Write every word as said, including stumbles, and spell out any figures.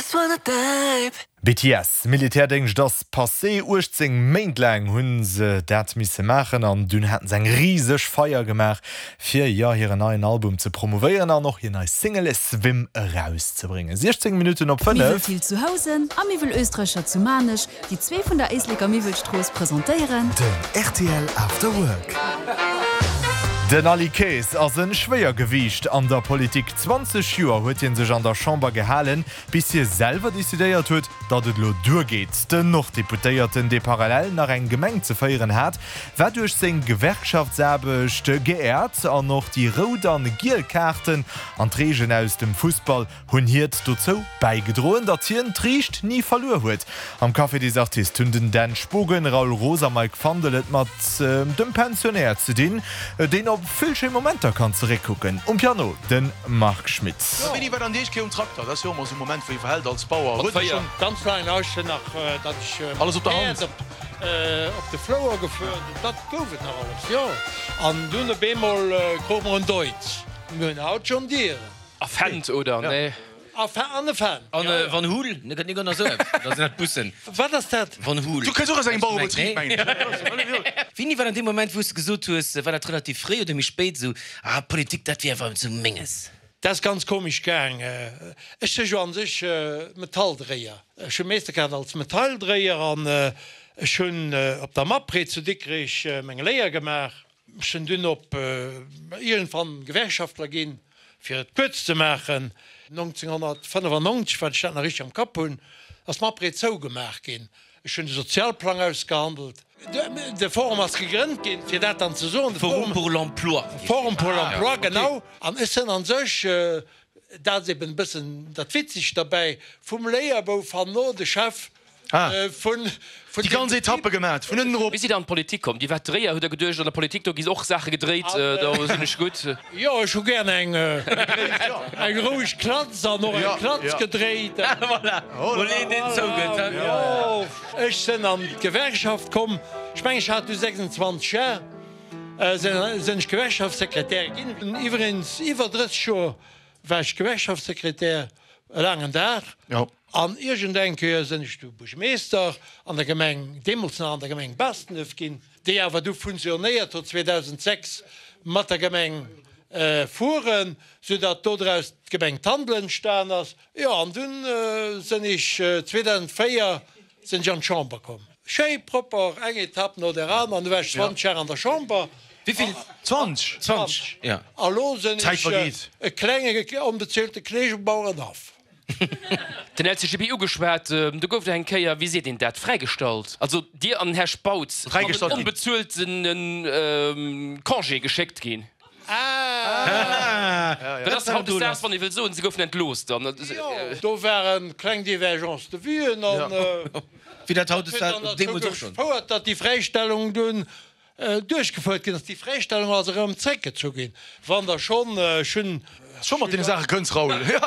Just wanna dive. B T S, Militärdéngscht ass passé. uechtzéng Méint laang hunn se dat misse maachen an dunn haten se eng riseg Feier gemaach fir, jo, hiren neien Album ze promouvéieren an och hir nei Single Swim erauszebréngen. siechzéng Minutten op Miwwel fënnef. Thill zu Housen a Miwwel Österreicher zu Maarnech, déi zwee vun der Éisleker Miwwelstrooss presentéieren. Den R T L After Work. Den Aly Kaes ass e Schwéiergewiicht an der Politik. zwanzeg Joer huet hie sech an der Chamber gehalen, bis hie selwer decidéiert huet, datt et elo duergeet. Den Norddeputéierten, dee parallel nach eng Gemeng ze féieren hat, war duerch seng Gewerkschaftsaarbecht geéiert an och déi rout an giel Kaarten an d'Reegelen aus dem Fussball hunn hiert dozou bäigedroen, datt hien d'Riicht ni verluer huet. Am Café des Artistes hunn den Dan Spogen, Raoul Roos a Mike Fandel et mat dem Pensionär ze dinn, deen op vill schéi Momenter kann zeréckkucken. Um Piano de Marc Schmitt. Wéini war dann déi éischt Kéier um Trakter? Dat ass jo ëmmer esou e Moment, wou ee verhält als Bauer. Huet Dir schonn. Ganz laang nach, nach, datt ech Alles op der Hand. Päerd op, op de Flouer gefuer, dat gouf et nach alles, jo. An dunn op eemol krute mer en Deutz. Mir hunn haut John Deere. A Fendt, oder? Nee. A an e Fendt, An jo, jo. Van Hool, ne gëtt net esou, dat sinn dat Bussen. Wat ass dat? Van Hool. Du kënns och aus engem Bauerebetrib, mengen ech. Wéini war dann dee Moment, wou s de gesot hues, war dat relativ fréi oder méi spéit, esou, ah, Politik, dat wier awer esou Menges? Dat ass ganz komesch gaang. Ech si jo an sech Metalldréier. Ech hu Meeschterkaart als Metalldréier an ech hunn op der Mapre zu Dikrech meng Léier gemaach. Ech sinn dunn op iergendwann Gewerkschaftler ginn, fir et kuerz ze maachen. nënzénghonnertfënnefannonzeg, wann ech dat nach richteg am Kapp hunn, ass d'Mapre zougemaach ginn. Ech hunn de Sozialplang ausgehandelt. De Forum ass gegrënnt ginn, fir dat dann ze soen. De Forum pour l'emploi. Forum pour l'emploi, genau. An ech sinn an sech, dat ass eben e bëssen dat Witzegt derbäi, vum Léierbouf herno de Chef vun Déi deem ganz Betrib. Etappe gemat, vun ënnen erop. Wéi sidd Der an d'Politik komm? Dir waart Dréier, hutt Der geduecht, an der Politik, do gi och Saache gedréit, do sinn ech gutt? Jo, ech hu gär eng eng roueg Klatz an och eng Klatz gedréit. Voilà, wou een deen zougëtt, he? Jo, ech sinn an d'Gewerkschaft komm, ech mengen, ech hat du sechsundzwanzeg Jar, sinn ech Gewerkschaftssekretär ginn. Iwweregens iwwer drësseg Joer war ech Gewerkschaftssekretär, e laangen Dag. An iergendeng Kéier sinn ech du Buergermeeschter an der Gemeng, deemools nach an der Gemeng Baastenduerf ginn, déi awer du fusionéiert huet zweedausendsechs mat der Gemeng Furen, soudatt dodraus d'Gemeng Tandel entstan ass. Jo, an dunn sinn ech zweedausendsvéier sinn ech an d'Chamber komm. Schéi propper, eng Etapp no der aner, an du war ech zwanzeg Jar an der Chamber. Wéi vill? Zwanzeg? Zwanzeg, ja. A lo sinn D'Zäit ech vergeet. e klenge onbezuelte Kolleeg um Bauerenhaff. Den L C G B ugeschwat, do gouft Der eng Kéier, wéi seet een dat, fräigestallt, also Dir an den Här Spautz, an den Fräigestallt ginn. onbezuelten Congé geschéckt ginn. Ah! Dat ass hautdesdaags, wann ee wëll soen, se goufen entlooss dann. Jo, do waren kleng Divergences de vuen an Wéi dat dat huet hautdesdaags, dann derzou deemools och schonn. gefouert, datt déi Fräistellung dunn duerchgefouert ginn ass. Déi Fräistellung ass erëm zréckgezu ginn. Wann Der schonn, ech hunn. Scho mat deene Saache kënns, Raoul, jo.